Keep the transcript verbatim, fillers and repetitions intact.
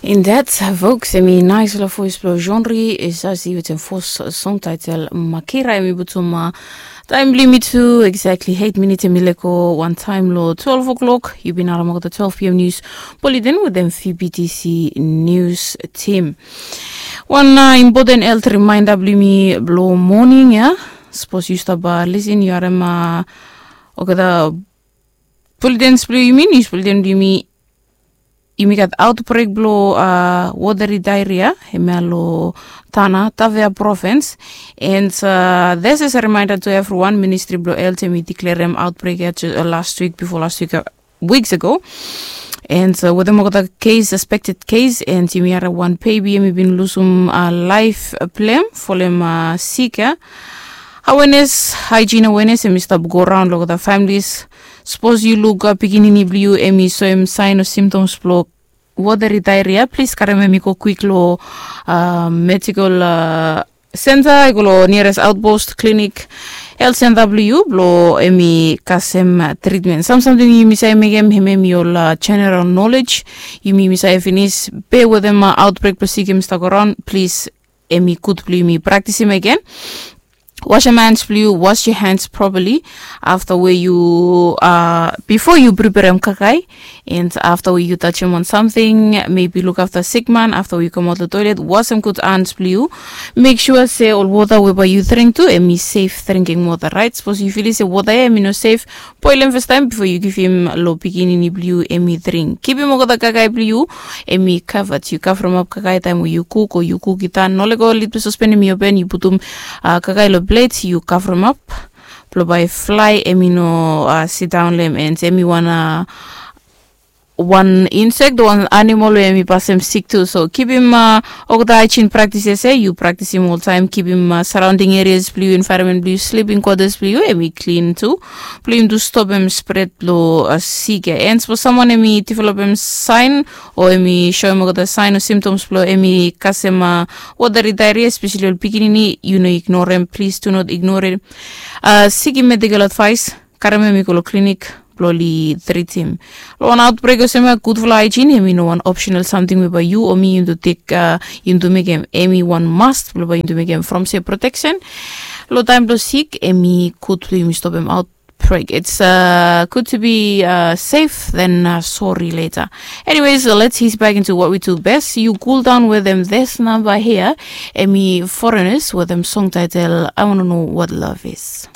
In that, folks, em i nais long voice blong Jeanri Zazi wetem fos song title Makira. Em i putum taem blong yumi tu exactly eight minutes, em i lego wan taem long twelve o'clock. Yu bin harim olgeta twelve p m news, Polly Den wetem V B T C news team. Wan important health reminder blong yumi blong moning ya. Sapos yu stap lisin, yu harim olgeta bulletins blong yumi, nius bulletin blong yumi, yumi gat outbreak blong watery diarrhea hemia long Tana Tavea provins. And this is a reminder to everyone, ministri blong health em i declarem outbreak ya last week, before last week, weeks ago. And wetem olgeta case, suspected case, and yumi harim wan baby em i bin lusum laef blong hem folem sik ya. Awareness, hygiene awareness em i stap go raon long olgeta families. Sapos yu luk pikinini blong yu em i soem saen o symptoms blong watery diarrhea, plis karem em i go kwik long medical center, i go long nearest outpost, clinic, health center blong yu blong em i kasem treatment. Sam samting yumi save mekem, hemia em i ol general knowledge. Yumi yumi save finis be wetem outbreak blong sik em i stap go raon, plis, em i gud blong yumi praktisim agen. Wasem hands blong yu, wash your hands properly afta we yu, bifo yu preperem kakae, and afta we yu tajem wan samting, mebi lukafta sikman, afta we yu kamaot long toilet, wasem gud hands blong yu. Mek sua se ol wota we bae yu dring tu em i sef dringing wota, raet? Sapos yu filim se wota ya em i no sef, boelem fastaem bifo yu givim long pikinini blong yu em i dring. Kipim olgeta kakae blong yu em i kavat. Yu kavremap kakae taem we yu kuk o yu kuk i tan. Nolego lidpela sospen em i open, yu putum kakae long plet, yu kavremap blong bae flae em i no sidaon long hem, and em i wan wan insek o wan animal we em i pasem sik tu. So kipim olgeta haejin praktises ya yu praktisim oltaem. Kipim saraonding erias blong yu, envaeronmen blong yu, sliping kwatas blong yu em i klin tu, blong yumi tu stopem spret blong sik ya. And sapos samwan em i developem saen o em i soem olgeta saen o symptoms blong em i kasem watery diarrhea, espeseli ol pikinini, yu no ignorem, plis do not ignore. Sikim medical advice, karem em i go long klinik blong oli tritim. Long wan outbreak olsem ya, gudfala haejin em i no wan optional samting we bae yu o mi yumi tu tek, yumi tu mekem. Em i wan must blong bae yumi tu mekem from se protection long taem blong sik em i gud blong yumi stopem outbreak. It's good to be safe than sorry later. Anyways, let's ease back into what we do best. You cool down with them this number here. Em i Foreigners wetem song title I Wanna Know What Love Is.